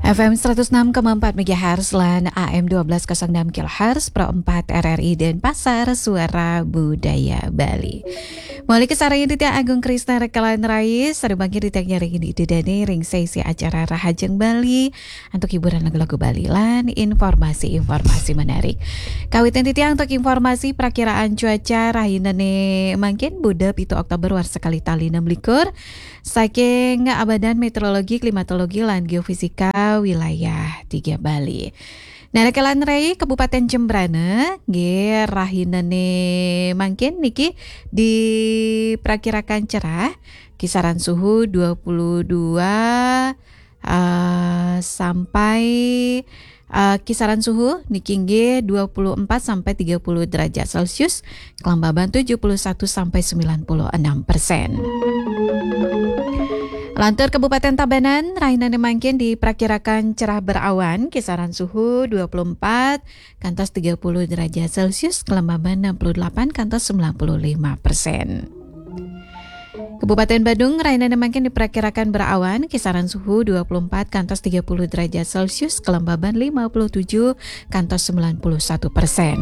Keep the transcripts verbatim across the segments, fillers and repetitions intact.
F M seratus enam koma empat megahertz lan A M dua belas kosong enam kilohertz, Pro empat R R I Denpasar, Suara Budaya Bali. Mauliké sareng titiang Agung Krisna Rekalan Rais, sareng mangkin titiang nyarengin Ida Dané ring sesi acara Rahajeng Bali, antuk hiburan lagu-lagu Bali lan informasi-informasi menarik. Kawitin titiang antuk informasi prakiraan cuaca rahinané mangkin Buda pitu Oktober warsa kalih tali enam likur. Saking Badan Meteorologi, Klimatologi, lan Geofisika Wilayah Tiga Bali. Nah, Rekalan Rai Kabupaten Jembrana, nggih, rahinané mangkin niki diperkirakan cerah, kisaran suhu dua puluh dua, eh, sampai, eh, kisaran suhu niki nggih dua puluh empat sampai tiga puluh derajat Celcius, kelembaban tujuh puluh satu sampai sembilan puluh enam persen. Lantur Kabupaten Tabanan, rahinané mangkin diperkirakan cerah berawan, kisaran suhu dua puluh empat kantos tiga puluh derajat Celcius, kelembaban enam puluh delapan kantos sembilan puluh lima persen. Kabupaten Badung, rahinané mangkin diperkirakan berawan, kisaran suhu dua puluh empat kantos tiga puluh derajat Celcius, kelembaban lima puluh tujuh kantos sembilan puluh satu persen.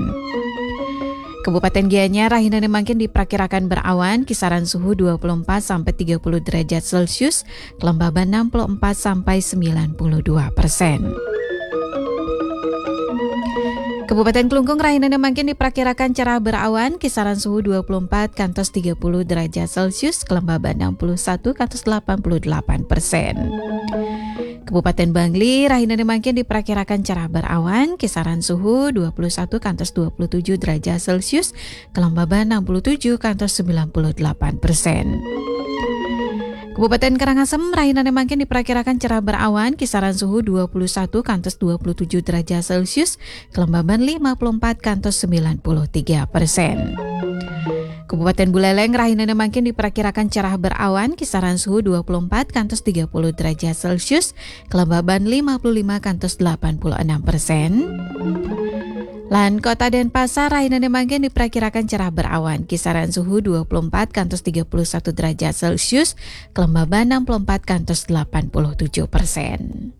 Kabupaten Gianyar, rahinané mangkin diperkirakan berawan, kisaran suhu dua puluh empat sampai tiga puluh derajat Celcius, kelembaban enam puluh empat sampai sembilan puluh dua persen. Kabupaten Klungkung, rahinané mangkin diperkirakan cerah berawan, kisaran suhu dua puluh empat kantos tiga puluh derajat Celcius, kelembaban enam puluh satu kantos delapan puluh delapan persen. Kabupaten Bangli, rahinané mangkin diperkirakan cerah berawan, kisaran suhu dua puluh satu kantos dua puluh tujuh derajat Celcius, kelembaban enam puluh tujuh kantos sembilan puluh delapan persen. Kabupaten Karangasem, rahinané mangkin diperkirakan cerah berawan, kisaran suhu dua puluh satu kantos dua puluh tujuh derajat Celcius, kelembaban lima puluh empat kantos sembilan puluh tiga persen. Kabupaten Buleleng, rahinané mangkin diperkirakan cerah berawan, kisaran suhu dua puluh empat kantos tiga puluh derajat Celcius, kelembaban lima puluh lima kantos delapan puluh enam persen. Lan Kota Denpasar, rahinané mangkin diperkirakan cerah berawan, kisaran suhu dua puluh empat kantos tiga puluh satu derajat Celcius, kelembaban enam puluh empat kantos delapan puluh tujuh persen.